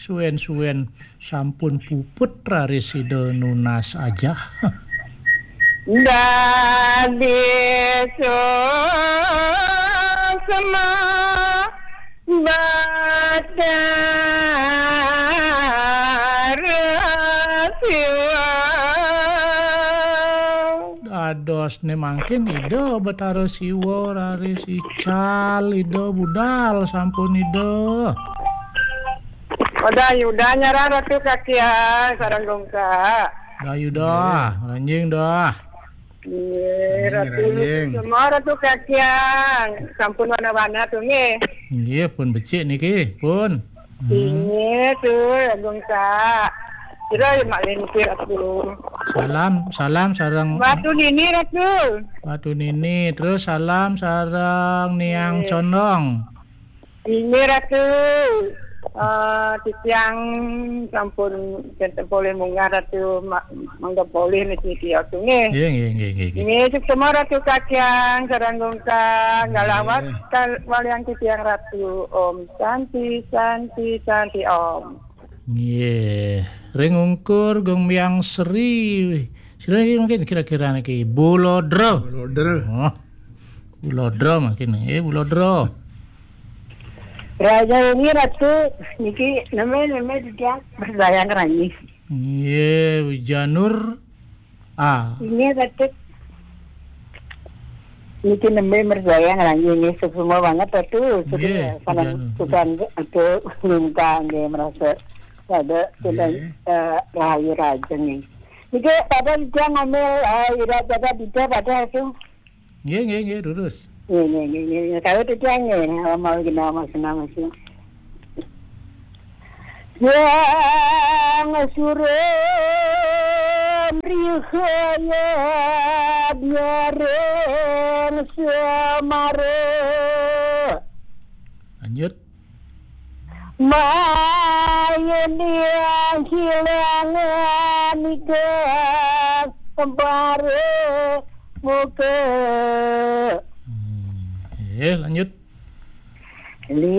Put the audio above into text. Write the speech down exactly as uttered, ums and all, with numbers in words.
Suwen-suwen sampun puput raris Ida nunas ajah. Dadi suksma Batara Siwa. Dadosne mangkin Ida Batara Siwa raris ical Ida budal sampun Ida. Oda Yuda nyarang Ratu Kakiang sareng Gungka. Dah Yuda, ranjing dah. Nggih, Ranjing, Ratu ranjing. Semua Ratu Kakiang. Sampun wana-wana tu nggih. Nggih, pun becik niki, pun. Hmm. Nggih, tu Gungka. Kira ya mak lintir Ratu. Salam, salam sareng Batu Nini Ratu. Batu Nini, terus salam sareng Niang Nggih. Condong. Inggih Ratu, eh, titiang sampun ten polih munggah Ratu ma-, mangga polih niki tio tu nggih. Nggih, nggih, nggih, nggih, nggih. Nggih, suksma Ratu Kakiang sareng Gungka, nggih. Ngalawat kal-, walian titiang Ratu. Om Santi, Santi, Santi Om. Nggih. Ring ungkur Gung Myang Sri. Sira niki mungkin kira-kira niki Bulodra. Bulodra. Oh. Bulodra mungkin. Eh, Bulodra. Raja ini Ratu, niki neme-neme titiang berbayang rangi. Nggih, Wijanur. Ah. Ini Ratu. Niki neme berbayang rangi ini semua banget Ratu. Sudah Nggih, sana Wijanur. Sudah aku minta nggih merasa pada sudah Nggih. Eh, rahayu raja nih. Niki pada titiang ngambil eh, ira pada dita pada itu. Nggih, nggih, nggih, lurus. Nggih, nggih, nggih, nggih. Kalau titiang nggih, mau gina mas nama sih. Yang suren rihayat nyareng semara. Lanjut. Main yang hilangan ikan kembara muka. Hmm. Eh, lanjut.